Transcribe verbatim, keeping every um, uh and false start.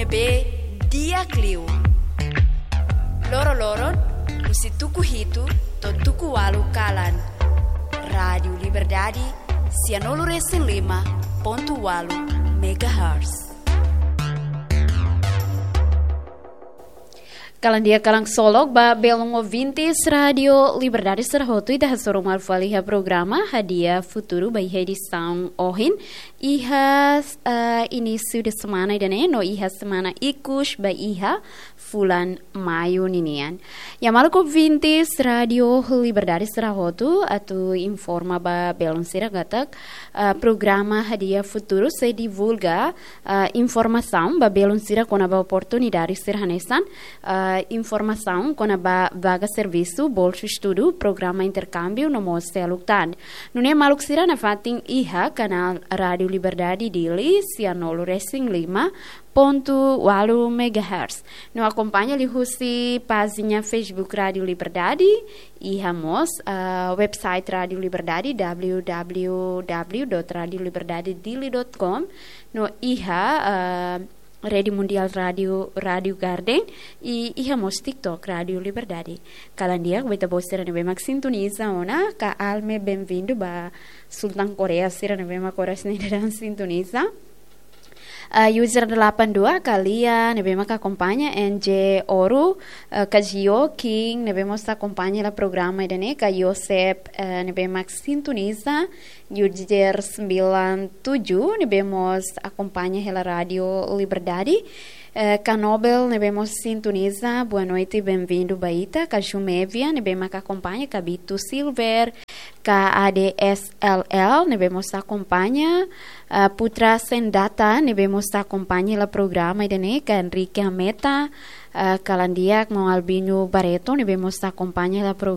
ne'ebé di'ak liu. Loro-loron, husi tuku hitu to'o tuku ualu kalan. Rádiu Liberdade, sianulu resin lima pontu ualu megahertz. Kalan di'ak, kalan ksolok ba belun ouvintes Rádiu Liberdade sira hotu, ita hasoru malu fali iha programa Hadi'a Futuru ba iha edisaun ohin. Iha, eh, inísiu de semana ida-ne'e, no iha semana ikus ba iha fulan Maiu ninian. Ya, maluk ouvintes Rádiu Liberdade sira hotu, atu informa ba belun sira katak, eh, programa Hadi'a Futuru sei divulga, eh, informasaun ba belun sira kona-ba oportunidade sira hanesan, eh, informasaun kona-ba vaga servisu, bolsu estudu, programa interkámbiu no mós seluk tan. Nune'e maluk sira nafatin iha kanál Rádiu Liberdade Dili, sianulu resin lima pontu ualu megahertz. No akompaña liuhusi pájina Facebook Rádiu Liberdade, iha mós, ah, website Rádiu Liberdade, www dot radio liberdade dili dot com, no iha, ah, Rede Mundial Rádiu, Rádiu Garden, i iha mós TikTok Rádiu Liberdade. Kalan di'ak ba ita-boot sira ne'ebé mak sintoniza ona, ka Alme, benvindu ba Sultan Korea sira ne'ebé mak oras ne'e daudaun sintoniza. Ah, user delapan dua, ka Lia ne'ebé mak akompaña, N J Oru, eh, ka Jio King ne'ebé mós akompaña hela programa ida-ne'e, ka Yosep, eh, ne'ebé mak sintoniza, user sembilan tujuh ne'ebé mós akompaña hela Rádiu Liberdade, eh, ka Nobel ne'ebé mós sintoniza, boa noite, benvindu ba ita, ka Jumevia ne'ebé mak akompaña, ka Bitu Silver, ka A D S L L ne'ebé mós akompaña, ah, Putra Sendata ne'ebé mós akompaña hela programa ida-ne'e, ka Enrique Ameta, ah, kalan di'ak, maun Albino Barreto ne'ebé mós akompaña hela programa